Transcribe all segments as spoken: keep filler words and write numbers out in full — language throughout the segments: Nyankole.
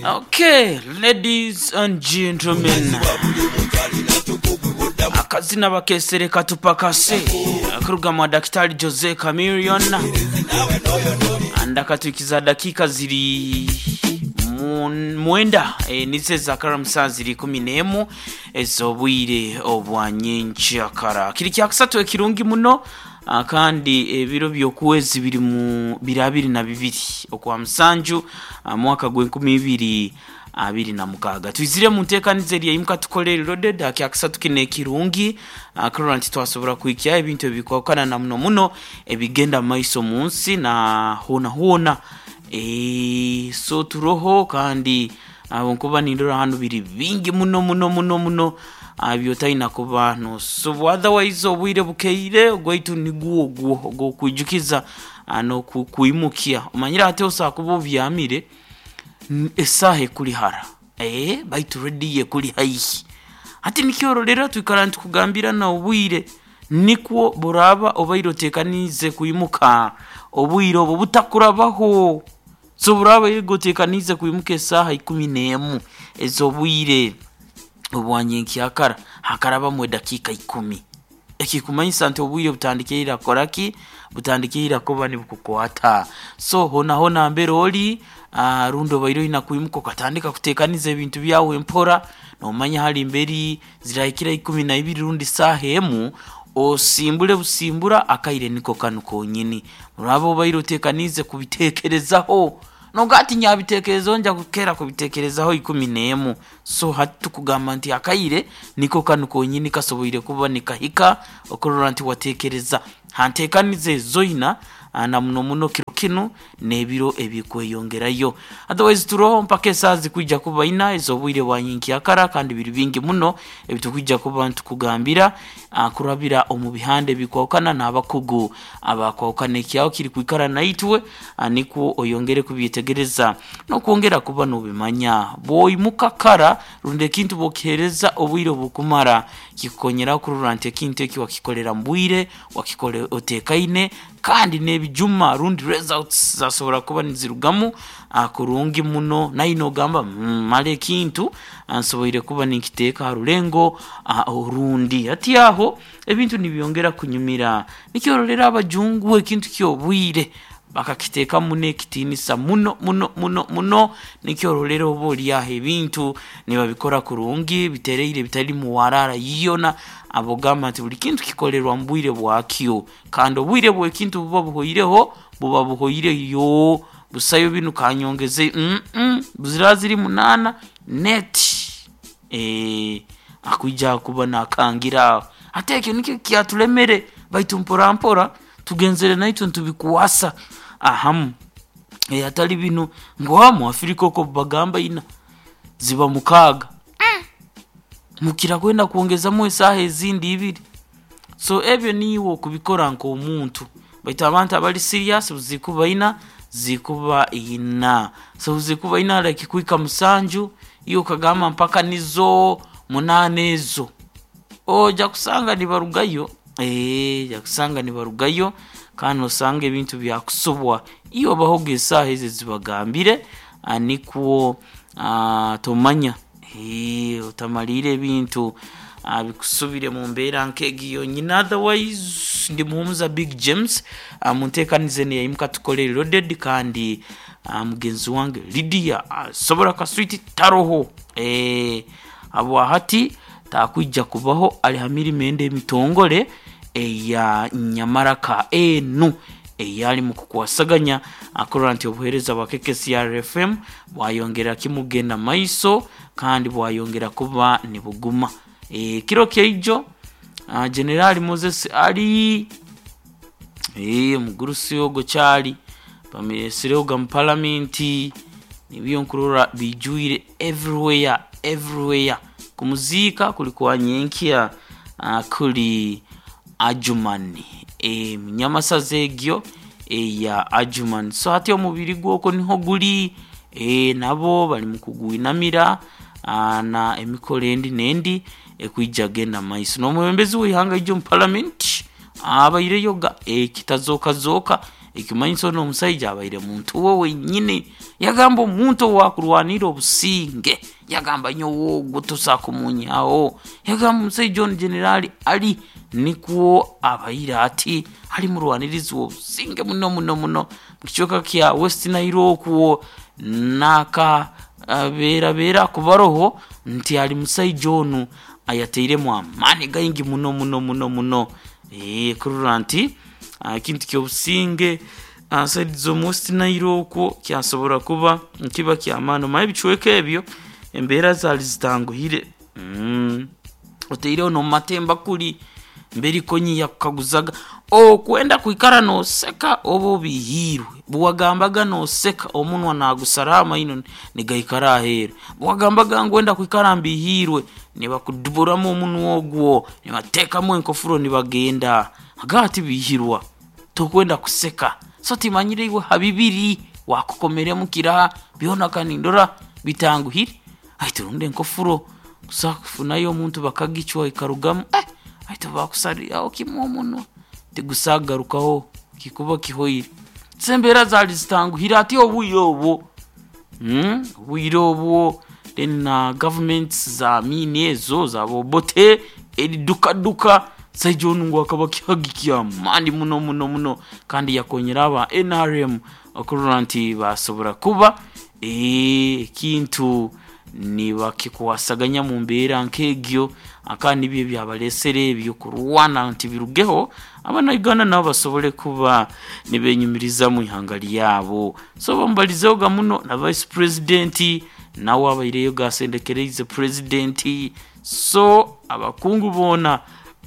Okay, ladies and gentlemen, akazina bakesere katupakase kuruga mwa Daktari Jose Chameleone andakatwikiza dakika ziri mu- mwenda e, nize zakaramusa ziri kumi n'emu ez'obwire obwa nyenkyakara. Kiri kyakusatu ekirungi muno, ah, kandi ebiro by'okwezi biri mu biri abiri na bibiri okwa musanju, ah, mwaka gw'enkumi ibiri abiri na mukaaga. Twizire mu nteekaniza eri eimuka tukole loaded akyakusatu kino ekirungi, ah, kurora nti twasobora kuhikya ebintu ebikwakana na muno muno ebigenda mu maiso mu nsi na hoona hoona. Eh, so turoho kandi abo nkuba nindora hanu biri bingi muno muno muno muno, ah, byotalina kuba nosobwa. Otherwise obwire bukeire ogwaitu nigwo ogwo ogwokwijukiza, ah, n'okukwimukia. Omanyire ate osobola kuba obyamire, n- esaaha ekuli hara, eh, baitu rediyo ekuli haihi. Hati nikyororera twikara nitukugambira na obwire nikwo buraaba obaire oteekaniize kwimuka obwire obwo butakurabaho. So buraaba obaire oteekaniize kwimuka esaaha ikumi n'emu ez'obwire obwa nyenkyakara, hakarabamu edakiika ikumi, ekikumanyisa nti obwire butandikire kukora ki? Butandikire kuba nibukukwata. So hoona hoona mbere ori, ah, rundi obaire oina kwimuka okatandika kuteekaniza ebintu byawe mpora, noomanya hali mberi zirahikira ikumi na ibiri rundi saaha emu, osimbule busimbura akaire niko kanu konyini. Oraaba obaire oteekaniize kubiteekerezaho noga ati nyabiteekerezaho nja kukeera kubiteekerezaho ikumi n'emu. So hati tukugamba nti akaire niko kanu konyini kasoboire kuba nikahika okurora nti wateekereza ha nteekaniza ezoina, ah, na muno muno kiro kinu n'ebiro ebikweyongerayo. Otherwise turoho mpaka esaaha zikwija kuba ina ez'obwire bwa nyenkyakara, kandi biri bingi muno ebitukwija kuba nitukugambira, ah, kurabira omu bihanda ebikwahukana n'abakugu abakwahukana. Ekyaho kiri kwikara naitwe, ah, nikwo oyongere kubyetegereza n'okwongera kuba n'obimanya. Bw'oimuka kara rundi ekintu bw'okiheereza obwire obukumara, kikukonyera kurora nti ekintu eki wakikolera mu bwire, wakikora oteekaine, kandi n'ebijuma rundi results zasobora kuba nizirugamu, ah, kurungi muno. Naye noogamba, mm, mara ekintu, ah, nsoboire kuba ninkiteeka ha rulengo, ah, orundi. Hati aho ebintu nibyongera kunyumira. Nikyororera abajungu ekintu ky'obwire bakakiteekamu n'ekitiinisa muno muno muno muno. Nikyororera oba ori aho ebintu nibabikora kurungi bitereire bitari muwarara yoona. Abogamba nti buli kintu kikolerwa mu bwire bwakyo, kandi obwire bw'ekintu buba buhoireho, buba buhoireyo, busayo binu kanyongeze mm -mm, ziraba ziri munaana neti, eh, akwija kuba nakangira aho. Ate ekyo nikyo kyatulemere, baitu mpora mpora tugenzere naitwe nitubikwasa ahamu. Eh, hatali binu ngu ha mu Africa okwo bagamba ina ziba mukaaga, mukira kwenda kwongezamu esaaha ezindi ibiri. So ebyo niiwe okubikora nk'omuntu, baitu abantu abali serious zikuba ina zikuba ina. So zikuba ina like kuhika musanju, iwe okagamba mpaka nizo munaana ezo, oja kusanga nibarugayo, eh, oja kusanga nibarugayo kandi osanga ebintu byakusobwa. Iwe obahoga esaaha ezo ezibagambire, ah, nikwo, ah, tomanya, eh, otamaliire ebintu, ah, bikusubire mu mbeera nk'egi yonyini. Otherwise ndi muhumuza Big James, ah, mu nteekaniza enu eyaimuka tukole loaded, kandi, ah, mugenzi wange Lydia asobora kaswiti taroho, eh, habwahati takwija kubaho ali ha mirimo endi emitongole eya nyamaraka enu eyali mu kukwasaganya akurora nti obuheereza bwa K K C R F M bwayongera kimugenda maiso kandi bwayongera kuba nibuguma. E, kiro kyaijo, uh, Generali Moses ali, e, omugurusi ogwo kyali bamuresireho mu palamenti, nibyo nkurora bijwire everywhere everywhere. Kumuziika kuli kwa nyenkya, uh, kuli Adjumani, e, munyamasaza egyo eya Adjumani. So hati omubiri gwokwo niho guli, e, nabo bali mu kugwinamira, ah, na emikoro endi n'endi ekwija genda maiso. N'omwebembezi w'eihanga ijo mu palamenti abaireyo ga ekitazooka zooka, ekimanyisa onu omusaija abaire muntu we wenyini. Yagamba omuntu owakurwanira obusinge, yagamba nyowe ogwo tosakumunyaho. Yagamba omusaija onu Generali Ali nikwo abaire ati ali murwanirizi w'obusinge muno muno muno mukicweka kya West Nile okwo, naka beerabeera kubaroho nti ali musaija onu ayateiremu amaani gaingi muno muno muno muno. Eeh kurora nti ekintu ky'obusinge saidi z'omu West Nile okwo kyasobora kuba nikiba ky'amaani. Omanye ebicweka ebyo embeera zaali zitanguhire. mm. Oteireho n'omumatemba kuri mberi konyi yakukaguzaga okwenda kwikara nooseka oba obihiirwe, bwewagambaga nooseka omunwa nagusaraho amaino nigaikara aheeru, bwewagambaga ngu wenda kwikara mbihiirwe nibakuduburamu omunwa ogwo nibateekamu enkofuro nibagenda. Agaba tibihirwa tokwenda kuseka, so timanyire iwe ha bibiri wakukomeremu kiraha byona kanindora bitanguhire. Aite rundi enkofuro kusa kufunayo omuntu bakagicwa ekarugamu, eh aite bakusariraho kimwe omunwa tigusagarukaho kikuba kihoire. So embeera zaali zitanguhire ati obwire obwo, mm, obwire obwo then na gavumenti za Amini ezo zaba Obote eridukaduka. Musaija onu ngu akaba kihagi ky'amaani muno muno muno, kandi yakonyera aba N R M okurora nti basobora kuba ekintu nibakikwasaganya mu mbeera nk'egyo, akandi nibyo ebyabalesere ebyo kurwana nti birugeho abanauganda nabo basobole kuba nibenyumiriza mu ihanga lyabo. So bamubalizehoga muno na vice president nawe abaireyo gasendekereize president. So abakungu boona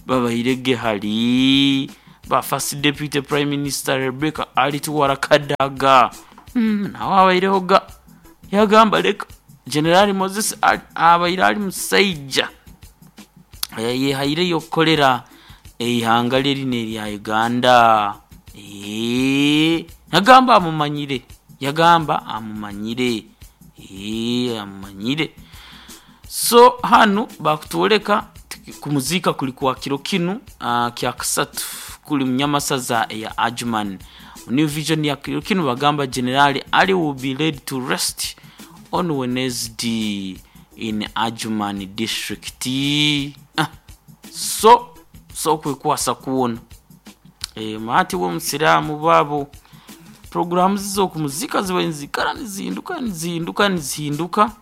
babairege hali ba first deputy prime minister Rebecca Alituwara Kadaga, mm, nawe abairehoga yagamba leka General Moses abaire ali musaija yehaireyo okukolera eihanga lye lino erya Uganda. Eee yagamba amumanyire, yagamba amumanyire, eee amumanyire. So hanu bakutwoleka kumuziika kuli kwa kiro kinu uh, kya kasatu kuli munyamasaza eya Adjumani. New Vision ya kiro kinu bagamba Generali Ali will be laid to rest on Wednesday in Adjumani district. Ah, so so kwekwasa kuwona e, maati w'omusiraamu baabo programu z'okumuzika ziba nizikara nizinduka nizinduka nizinduka.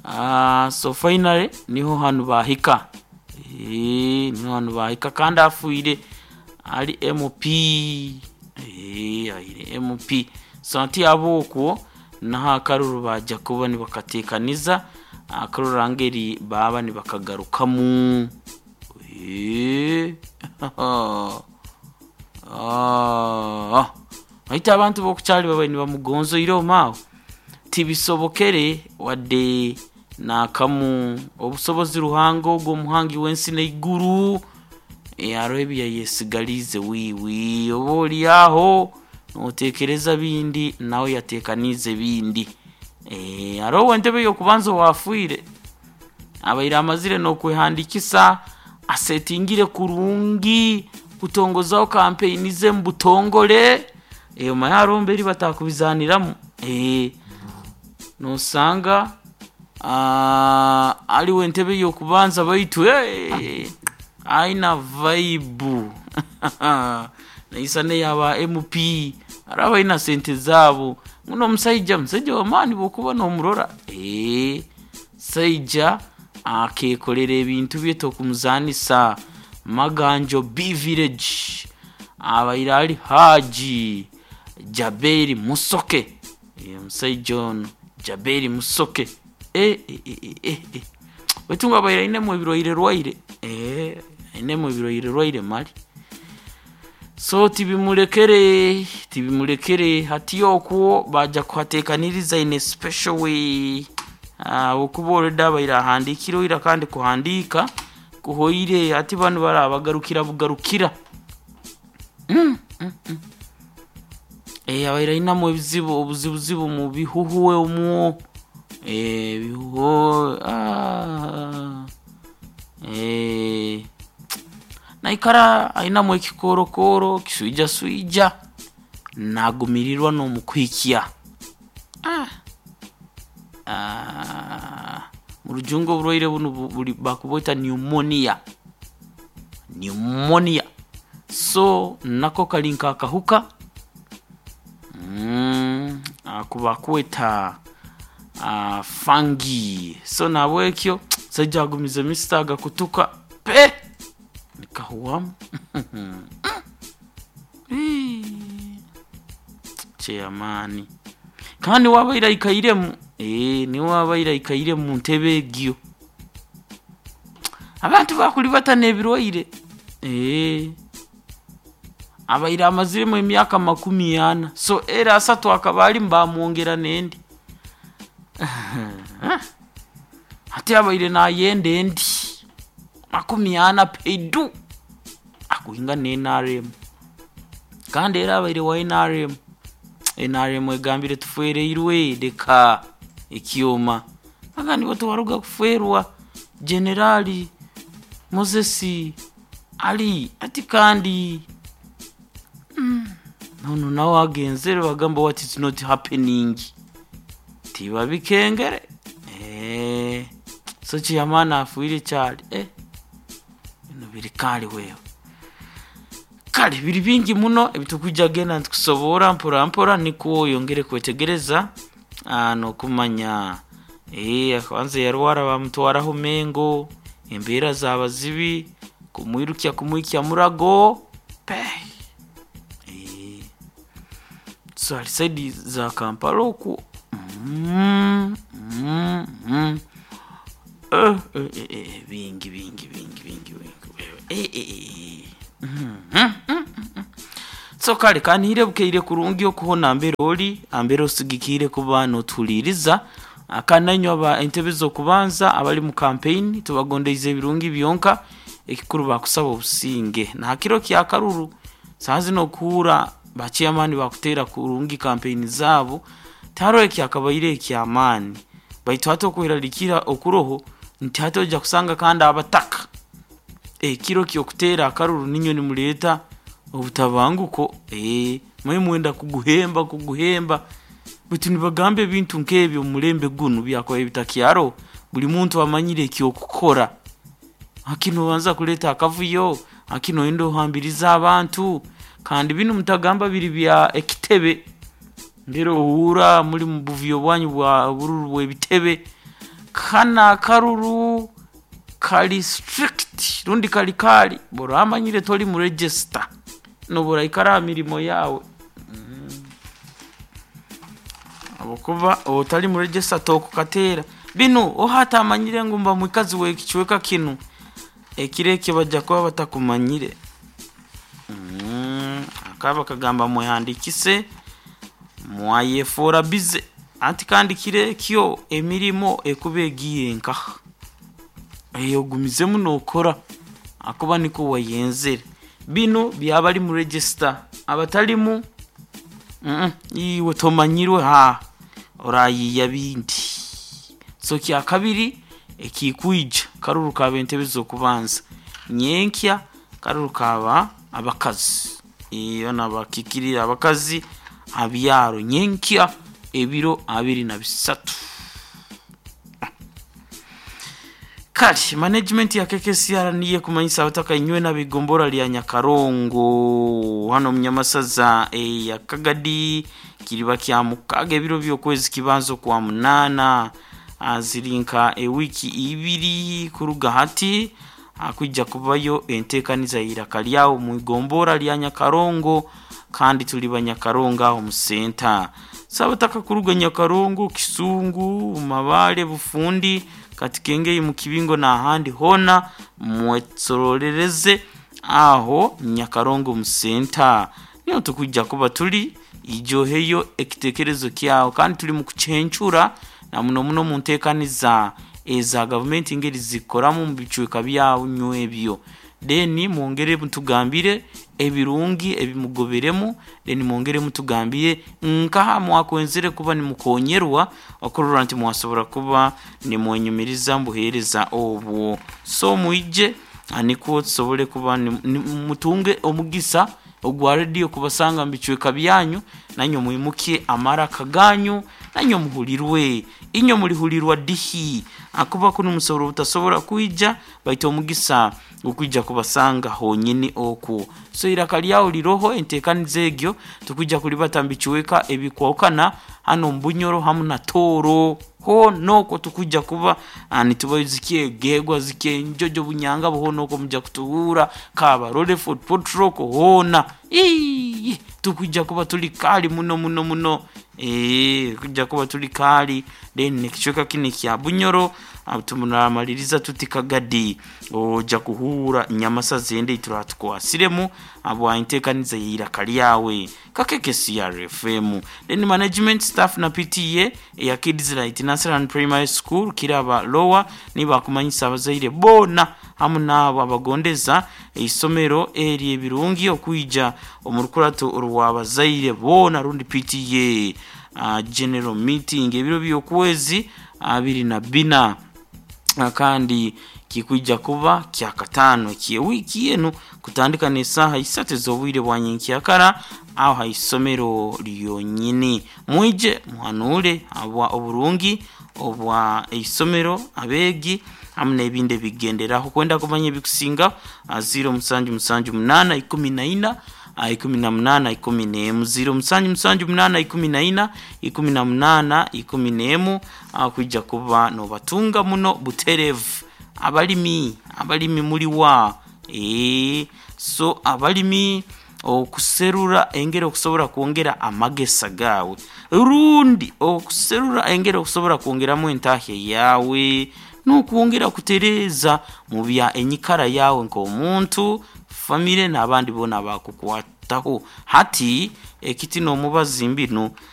Ah, so finally niho hanu bahika, e, niho hanu bahika kandi afuire ali M P, e, aire M P. So nti abokwo naho akaruru baja kuba nibakateekaniza akaruru ngeri baba nibakagarukamu. E, ah, aita abantu bokukyali babaire nibamugonzoire omaawo tibisobokere wadde nakamu obusobozi Ruhanga ogwo omuhangi w'ensi n'eiguru hariho ebiyayesigaliize wiiwi oba ori aho noteekereza bindi nawe yateekaniize bindi. Hariho entebe y'okubanza owafiire abaire amazire n'okwehandikisa asetingire kurungi kutongozaho kampeyini ze mu butongore, omanye hariho mberi batakubizaniramu, nosanga ariwe entebe y'okubanza baitu aina vibe naisa n'eyaba M P hariho abaina sente zaabo nguno omusaija musaija w'amaani bw'okuba n'omurora, musaija akeekorera ebintu bye tokumuzanisa. Maganjo B village abaire ali Haji Jaberi Musoke, omusaija ono Jaberi Musoke baitu ngu abaire ainemu ebirwaire rwaire, ainemu ebirwaire rwaire mali. So tibimurekere tibimurekere hati okwo baja kuhateekaniriza in a special way okuba already abaire ahandikire oira kandi kuhandiika kuhoire hati banu barabagarukira bugarukira. mm, mm, mm. E, abaire ainamu ebizibu obuzibuzibu mu bihuhwe omwo, e, bihuho ah, e, naikara ainamu ekikorokoro kiswijaswija nagumirirwa n'omukuhikya Ah. Ah. Mu rujungu oburwaire bunu buri bakubweta pneumonia. Pneumonia. So nako kali nk'akahuka mm, akubakweta uh, fungi. So nabwekyo saija agumize misita agakutuka pe nikahuwamu. Chairman kandi wabaire aikairemu eh, niwe wabaire aikaire mu ntebe egyo. Abantu bakuli batana ebirwaire eh, abaire amaziremu emyaka makumi ana, so era asatu akaba alimu bamwongera n'endi. Ate abaire nayenda endi makumi ana peidu akuhinga ne N R M, kandi era abaire wa N R M. N R M egambire tufereirwe leka ekyoma agandi batuwaruga kuferwa Generali Moses Ali ati kandi mm, nono nawe agenzere bagamba what is not happening tiba bikengere eh, so chiyamana afuire kyali eh, bino biri kali wewe kale biri bingi muno ebitukujja genda ntukusobora mpora mpora niko yongere kwetegereza nokumanya eh, kwanza yarwara bamutwaraho Mengo embeera zaba zibi kumwirukya kumwikya murago pe eh, so ali saidi za Kampala oku mm, mm, mm. Eh, eh, eh, eh, bingi bingi bingi bingi bingi eh, eh, eh. Mm, mm, mm, mm. So kale kanihire bukeire kurungi okuhona mbere oli ambere osigikire kuba notuliriza akananywa ba entebe z'okubanza abali mu campaign tubagondeize ebirungi byonka ekikuru bakusaba obusinge na hakiro kya karuru sazi nokuura ba chairman bakutera kurungi campaign zabo taro ekyakabaire ekyamaani baitu hata okuheralikira okuroho nti hata ojja kusanga kandi abataka ekiro kyokutera akaruru ninyo nimuleta obutabanguko eh, mwe mwenda kuguhemba kuguhemba bitu nibagamba ebintu nk'ebyo omulembe gunu byakoba ebitakyaro buli muntu amanyire ekyokukora akino banza kuleta akavuyo akino endo ohambiriza abantu kandi bino mutagamba biri bya ekitebe ndero ohura muri mu buvuyo bwanyu bwa bururu bw'ebitebe kana akaruru kali strict rundi kali kali bora amanyire tori mu register nobora ikara mirimo yawe mm. Abokuba otali mu register tokukatera bino ohata amanyire ngu mba mwikazi we kichweka kinu ekireke bajja kuba batakumanyire mm. Akaba kagamba mwehandikise mwayefora bize anti kandi kirekyo emirimo ekuba egiye nkaha eyo gumizemu nokora akuba niko wayenzere bino byabali mu register abatalimu mm iwe tomanyirwe ha orayiya bindi. So kya kabiri ekikwija karuru ka bentebe zokubanza nyenkya karuru kaba abakazi iyo nabakikirira abakazi abyaro nyenkya ebiro abiri na bisatu. Kali management ya K K C R niye kumanyisa abataka inywe n'abigombora lya Nyakarongo hano munyamasaza e, ya Kagadi kiriba kya mukaga ebiro by'okwezi kibanzo kwa munana azirinka ewiki ibiri kuruga hati akujja kubayo entekaniza iraka lyawo mu igombora lya Nyakarongo kandi tuli banyakarongo aho mu center sabataka kuruga Nyakarongo Kisungu Mabale Bufundi katikengeye mu kibingo na ahandi hona mwetsororereze aho Nyakarongo mu center niyo tukujja kuba tuli ijoheyo ekitekerezo kyawo kandi tuli mu kucencura na muno muno mu ntekaniza eza government ingeri zikoramu mu bicweka byawo nywebyo deni mwongere mutugambire ebirungi ebimugoberemu deni mwongere mutugambire nkaha mwakwenzere kuba nimukonyerwa okurora nti mwasobora kuba nimwenyumiriza mbuhereza obwo. So mwije aniko tusobole kuba mutunge omugisa Ogwa rediyo kubasanga mu bicweka byanyu, nanywe mwimukye amaraka ganyu, nanywe muhulirwe. Inywe mulihulirwa dihi akuba kunu musobora obutasobora kwija, baitu omugisa okwija kubasanga honyini okwo. So iraka lyawe liroho entekaniza egyo tukwija kulibata mu bicweka ebikwahukana hano omu Bunyoro hamu na Tooro. Hoona okwo tukwija kuba ah, nitubaizikya Egegwa, zikya Enjojo, Bunyangabo, hoona okwo mujja kutuhura Kabarole, Fort Portal okwo hoona. Iiii tukwija kuba tuli kali muno muno muno. Eee kujja kuba tuli kali, then ekicweka kinu ekya Bunyoro ah, tumunamaliriza tuti Kagadi ojja kuhuura nyamasa zende turatukwasiremu abwa entekaniza y'eiraka lyawe Kakeke C R F M. Then management, staff na P T A eya Kids Light Nursery Primary School, Kiraba Lower, nibakumanyisa abazaire boona hamu n'abo abagondeza eisomero eri ebirungi okwija omu rukurato rw'abazaire boona rundi P T A uh, general meeting ebiro by'okwezi abiri na bina. Ah, kandi kikwija kuba kyakataano eky'ewiiki enu kutandika n'esaaha isatu ez'obwire bwa nyenkyakara aho ha isomero lyonyini. Mwije muhanuule habwa oburungi obwa isomero, abeegi hamu n'ebindi ebigenderaho. Kwenda kumanya ebikusinga, ziro musanju musanju munaana ikumi na ina ikumi na munaana ikumi n'emu, ziro musanju musanju munaana ikumi na ina ikumi na munaana ikumi n'emu, kwija kuba nobatunga muno butereevu. Abalimi, abalimi muliwa? Ee, so abalimi, okuserura engeri okusobora kwongera amagesa gaawe rundi okuserura engeri okusobora kwongeramu entahya yawe n'okwongera kutereeza mu bya enyikara yawe nk'omuntu, famire n'abandi boona abakukwataho. Hati ekiti n'omubazi mbinu.